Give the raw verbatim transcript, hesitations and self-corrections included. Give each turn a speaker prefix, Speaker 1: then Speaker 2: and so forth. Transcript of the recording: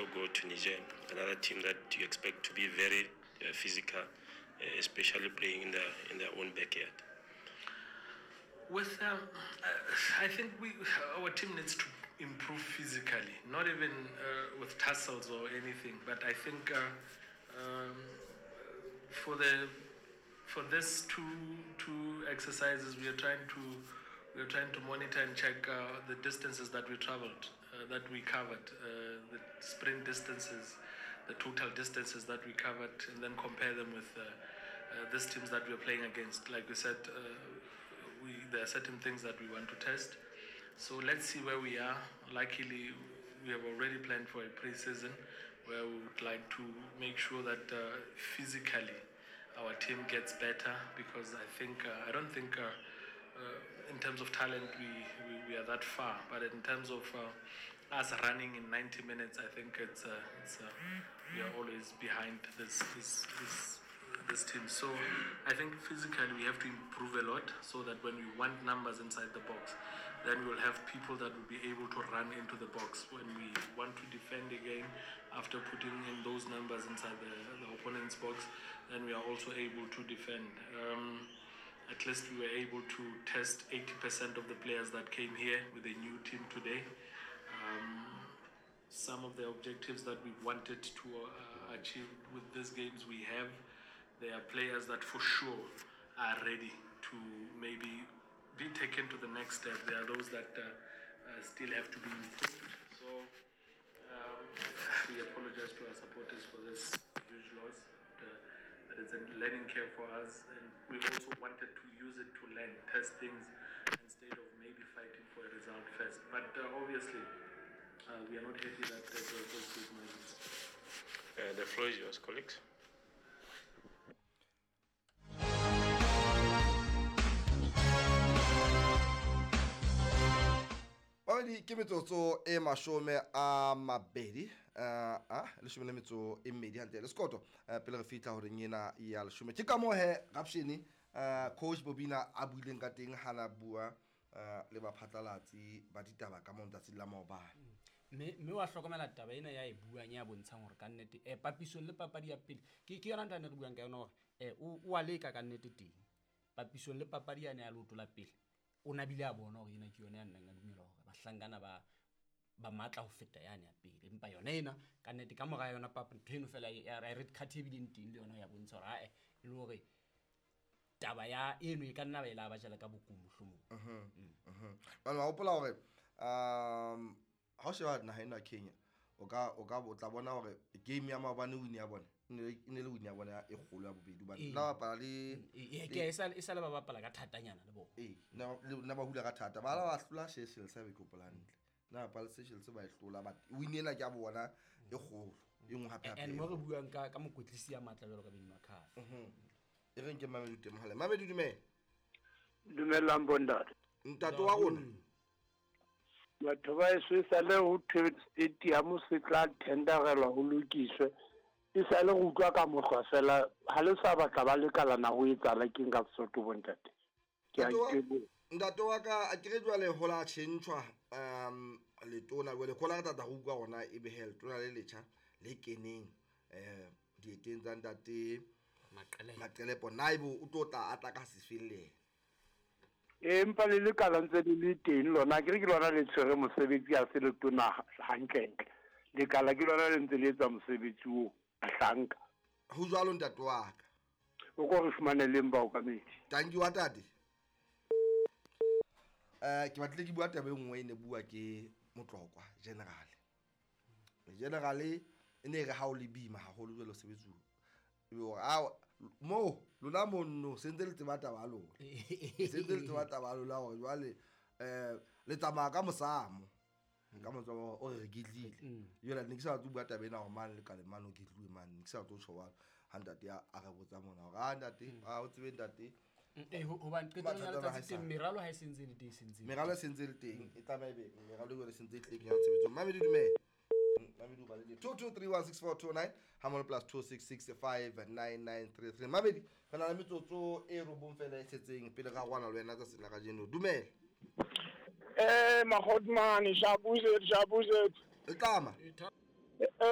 Speaker 1: also go to Niger, another team that you expect to be very uh, physical, uh, especially playing in their in their own backyard.
Speaker 2: With um, I think we our team needs to improve physically, not even uh, with tussles or anything. But I think uh, um, for the for this two two exercises, we are trying to we are trying to monitor and check uh, the distances that we traveled, uh, that we covered, uh, the sprint distances, the total distances that we covered, and then compare them with uh, uh, these teams that we are playing against. Like we said, uh, we there are certain things that we want to test. So let's see where we are. Luckily, we have already planned for a pre-season where we would like to make sure that uh, physically our team gets better, because I think uh, I don't think uh, uh, in terms of talent we, we, we are that far, but in terms of uh, us running in ninety minutes, I think it's, uh, it's uh, we are always behind this this this this team. So I think physically we have to improve a lot, so that when we want numbers inside the box, then we'll have people that will be able to run into the box. When we want to defend again after putting in those numbers inside the, the opponent's box, then we are also able to defend. Um, at least we were able to test eighty percent of the players that came here with a new team today. Um, some of the objectives that we wanted to, uh, achieve with these games we have. There are players that for sure are ready to maybe be taken to the next step. There are those that, uh, uh, still have to be improved. So, um, we apologize to our supporters for this huge loss. But, uh, but it's a learning curve for us, and we also wanted to use it to learn, test things, instead of maybe fighting for a result first. But, uh, obviously, uh, we are not happy that there were those big margins.
Speaker 1: Uh, the floor is yours, colleagues.
Speaker 3: Babedi ke metsotso e mashome a mabedi, eh, a leshome le metso e mmedi hantle le sekoto, eh, pele re fihla horeng ena ya leshome. Ke ka moo he Rapshene, eh, coach Bobina a buileng ka teng ha na bua, eh, le baphatlalatsi ba ditaba ka moo letsatsi la maobane.
Speaker 4: Mme, mme wa hlokomela taba ena ya e buang ya bontshang hore ka nnete, eh, papisong le papadi ya pele, ke, ke yona ntho a ne re buang ka yona hore, eh, o, o a leka ka nnete teng. Papisong le papadi yane ya leoto la pele, o na bile a bona hore ena ke yona ya nnang a dumela hore bahlankana ba, ba matla ho feta yane ya pele. Empa yona ena, ka nnete, ka mora yona papa, ntho eno fela ya, ya red card e bileng teng le yona ya bontsha hore, ae, e le hore taba ya eno e ka nna ba e la ba jala ka bokumo mohlomong.
Speaker 3: Mhm, mhm. Bana, wa hopola hore, um, ha o sheba naha ena ya Kenya, o ka, o ka, o tla bona hore game ya maobane win ya bona, e ne le, e ne le win ya bona e kgolo ya bobedi, hobane
Speaker 4: Ee.
Speaker 3: nna bapala le
Speaker 4: Ee, ee, ke a e sa, e sa le ba bapala ka thatanyana le bona.
Speaker 3: Ee, nna, le, nna ba hula ka thata. Ba la ba hlola Seychelles, ha be ke hopola hantle. Nna bapala Seychelles ba e hlola, but win ena ke ya bona e kgolo, e nngwe hape hape.
Speaker 4: And mo re buang ka, ka mokwetlisi ya matla jwalo ka Benny McCarthy.
Speaker 3: Mhm. E reng ke Mamelodi teng mohaleng. Mamelodi, dumela.
Speaker 5: Dumelang bontate.
Speaker 3: Ntate wa rona.
Speaker 5: Batho ba heso e sale ho thwe stadium se tla tenderelwa ho lokiswe. E sale go utlwa ka mokgwa fela, ha le sa batla ba lekalana ho etsahala keng ka Sesotho bontate? Ke a
Speaker 3: Ntate wa-
Speaker 5: iteboha.
Speaker 3: Ntate wa ka, a ke re jwale ho la tjhentjhwa, um, letona jwale, khola re tata ho utlwa hona e be he letona le letjha le keneng, eh, dieteng tsa ntate
Speaker 4: Maqelepo.
Speaker 3: Maqelepo. Na ebe o tlo tla a tla ka sefeng le yena?
Speaker 5: Ee, empa le lekala ntse le le teng lona, akere ke lona le tshwere mosebetsi ha se letona hantlentle. Lekala ke lona le ntse le etsa mosebetsi oo, bahlanka.
Speaker 3: Ho jwalo ntate wa ka.
Speaker 5: O ko re fumaneleng baokamedi.
Speaker 3: Thank you wa tate. Eh, ke batlile ke bua taba e nngwe e ne bua ke Motlokwa General. General e ne re ha o le boima haholo jwalo sebetsi o. Ebe hore, ao, mo, lona monno, se ntse le tseba taba ya lona. Se ntse le tseba taba ya lona hore jwale, eh, le tsamaya ka mosamo. Ka mosamo o re ketlile.
Speaker 4: Mm.
Speaker 3: Jwale ne ke sa batle ho bua taba ena hore mane le kale mane o ketluwe mane. Ne ke sa batle ho tjho jwalo. Ha ntate a, a re botsa mona hore, ah, ntate,
Speaker 4: Mm.
Speaker 3: ah, o tsebe ntate.
Speaker 4: Mm, eh, ho-, hobane qetellong ya
Speaker 3: Mathata a
Speaker 4: letsatsi
Speaker 3: haesale.
Speaker 4: teng, meralo ha e se ntse e le teng, e se ntse e le
Speaker 3: Meralo e
Speaker 4: teng.
Speaker 3: se ntse e le teng, e tlameha ebe meralo jwale e se ntse e tlile ya tshebetsong. Mamedi, dumela. Mamedi o balehile. Two two three one six four two nine, ha molo plus two six six five nine nine three three. Mamedi, re na le metsotso e robong fela e setseng pele ga rwana le wena tsatsing la kajeno. Dumela.
Speaker 6: Eh, Mahodmane, Shabuze, Shabuze.
Speaker 3: E tlama.